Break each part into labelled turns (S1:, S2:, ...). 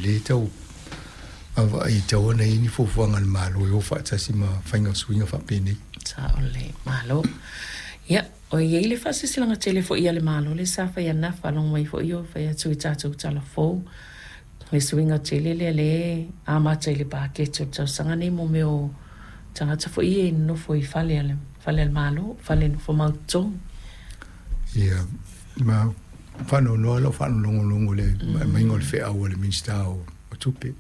S1: lē tau vaavaai e tatau ona i ai ni fuafuaga a le Malo e o faatasi ma faiga o suiga faapenei.
S2: Sao lelei. Malo. Ia, o i ai le faasilasilaga tele foi a le Malo lea sa fai ananafi, faalogo mai foi o fai atu i tatou tala fou, le suiga tele lea lea e amata i le paketi o le tausaga nei mo mea o tagata foi ia e nonofo i fale a le, fale a le Malo, fale nofo mau totogi.
S1: Ia, ma faanoanoa lau faalogologo i le aumaiga o le feau a le Minisita o Tupe,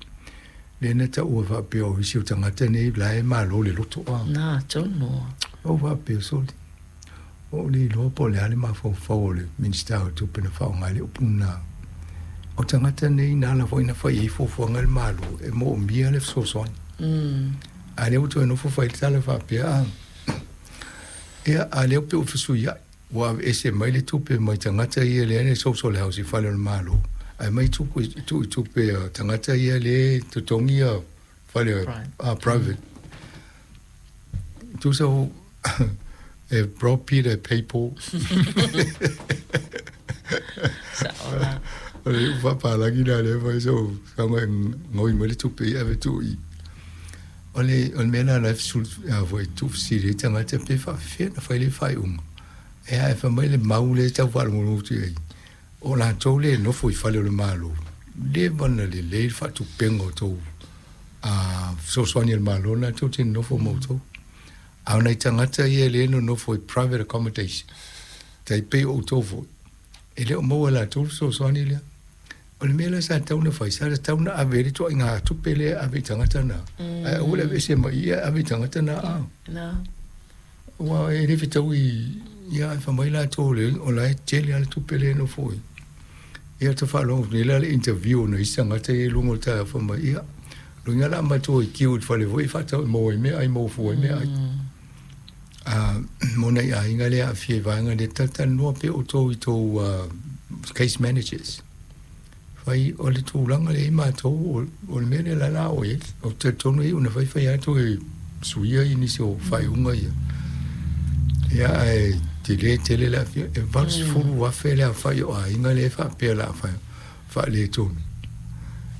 S1: lea na taua faapea o isi o tagata nei la e malo le loto. A.
S2: Na, tonu.
S1: Ou faapea, sole, ua ou le iloa po o le a le mafaufau o le Minisita o Tupe na faaaoga ai le upu lena. O tagata nei na ala foi na fai ai fuafuaga a le Malo e moomia le fesoasoani. A lea ua toe nofo fai le tala faapea, a, ia, a lea pei ua fesuiai. Ua aveese mai le tupe mai tagata ia lea e social house i fale o le Malo, ae aumai tupe tuu i tupe a tagata ia lea e totogi ia fale a private. Tusa o e bro Peter pay Paul.
S2: Sao la.
S1: O le upu faapalagi lena lea fai so saga e gaoi mai le tupe ia ave tuu i. O le o le mea lena la e fesuli a foi tuufesili ai tagata pe faafefea ona fai le faaiuga. E a e fai mai le mau lea e tau faalogologo atu i ai, o latou lea e nofo i fale o le Malo, leva ona lelei le faatupega o tou fesoasoani a le Malo lena tou te nonofo ma outou. A o nai tagata ia lea e nonofo i private accommodation, tai pei o outou foi, e le o maua e latou le fesoasoani lea. O le mea la sa tatau ona fai, sa tatau ona ave ai le ituaiga tupe lea e ave i tagata na, ae aua le aveese mai i i ae ave i tagata na. Aua e le fetaui ia ae fai mai latou o la e tele lava le tupe lea e nofo ai. Ia ou te faalogo atu nei la i le interview a nai isi tagata ia i luga o le taeao fai mai, ia, lona uiga o le a matou i queue i le fale foi e faatau e maua ai meaai, maua fua ai meaai. Mo nai aiga lea e aafia i vaega lea, talatalanoa pea outou i tou case managers. Fai o le tulaga lea i matou o le mea lea la la o i ai. Ou te talitonu e iu ina fai fai atu e suia i nisi o faaiuga ia. Ia ae tele tele le aafia. E 80,000 le aofai o aiga lea e faapea o le a faaletonu.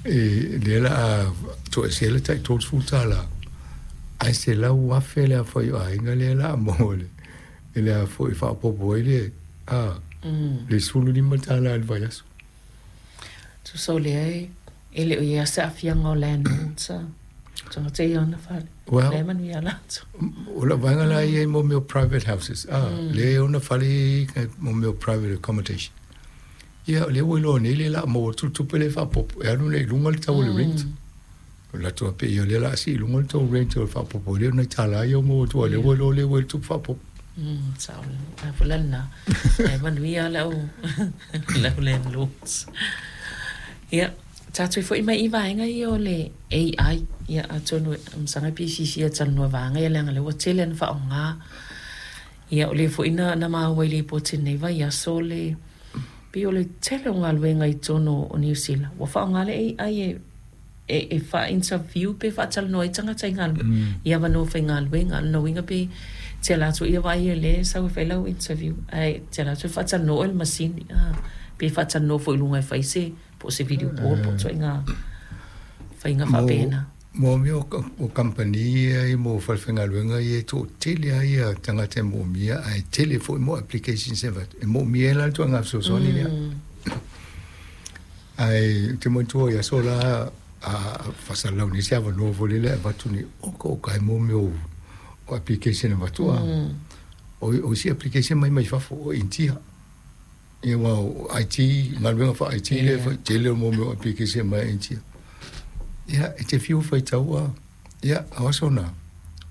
S1: E lea la a toesea le tai $30 ae 100,000 le aofai o aiga lea la a maua le le a foi faaopoopo ai le a le $15 i le vaiaso.
S2: Tusa o lea e e le o i ai se aafiaga o landlords a tagata ia ona fale.
S1: Well,
S2: Lea e manuia latou.
S1: O lau vaega la ia i mo mea o private houses, a, lea e ona fale ia mo mea o private accommodation. Ia, o lea ua iloa nei lea o le a maua atu le tupe lea e faaopoopo e alu nei i luga le tau o le rent. O le latou faapea, ia o lea o le a sii i luga le tou rent o le faaopoopo ai lea o nai $1 ia ua maua atu aua o lea ua iloa lea ua i ai le tupe faaopoopo.
S2: Sao lelei. A foi la lena, ae manuia le au le au landlords. Ia, tatou foi mai i vaega ia o le AI. Ia, atonu e masaga pe fiafia e talanoa i vaega ia leaga o lea ua tele ona faaaoga. Ia, o lea foi na na maua i le lipoti i lenei vaiaso le pei o le tele o galuega i totonu o Niu Sila ua faaaoga le AI e e faa-interview pe faatalanoa ai tagata i galuega, i avanoa faigaluega. O lona uiga pe te alu atu ia vaai o lea e sau e fai lau interview, ae te alu atu e faatalanoa oe i le masini, a, pe faatalanoa foi i luga e fai se, po o se video call po o ituaiga faiga faapena.
S1: Mo mea o kamupani ia mo falefaigaluega ia e toatele lava ia tagata e moomia ae tele foi mo applications e avatu e moomia ai la le ituaiga fesoasoani lea. Ae ou te manatua i aso la a faasalalau nei se avanoa foi lele e avatu nei, oka oka e mo mea o application e avatu a. O isi application mai mai fafo o Initia. Ia aua o IT, galuega faa IT lea e fai, tele o mo mea o application mai Initia. Ia, e te fiu e faitau a, ia, o aso na,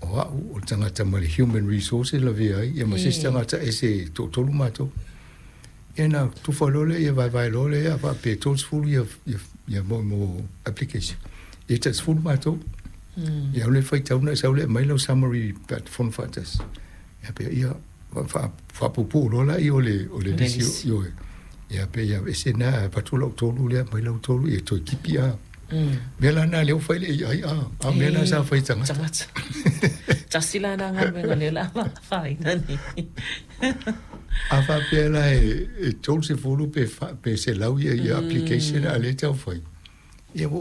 S1: o au o le tagata ma le human resources lavea ai, ia ma se isi tagata ese e toatolu matou. Ia na tufa loa lea, ia vaevae loa lea, faapea e 30 ia, ia, ia mo, mo application. Ia tai 10 matou. Ia alu e faitau na e sau lea e aumai lau summary pe a fono faatasi. Ia pea ia, faapuupuu loa lea o le, o le lisi, ioe. Ia pea ia aveese na, avatu lau tolu lea, aumai lau tolu, ia toe tipi a. Mea la na lea ua fai le AI a, a o mea na sa fai e tagata.
S2: Tagata. Tasi la na galuega lea o le a afaina nei.
S1: A faapea la e 30 pe 100 ia application a lea e tau fai, ia ua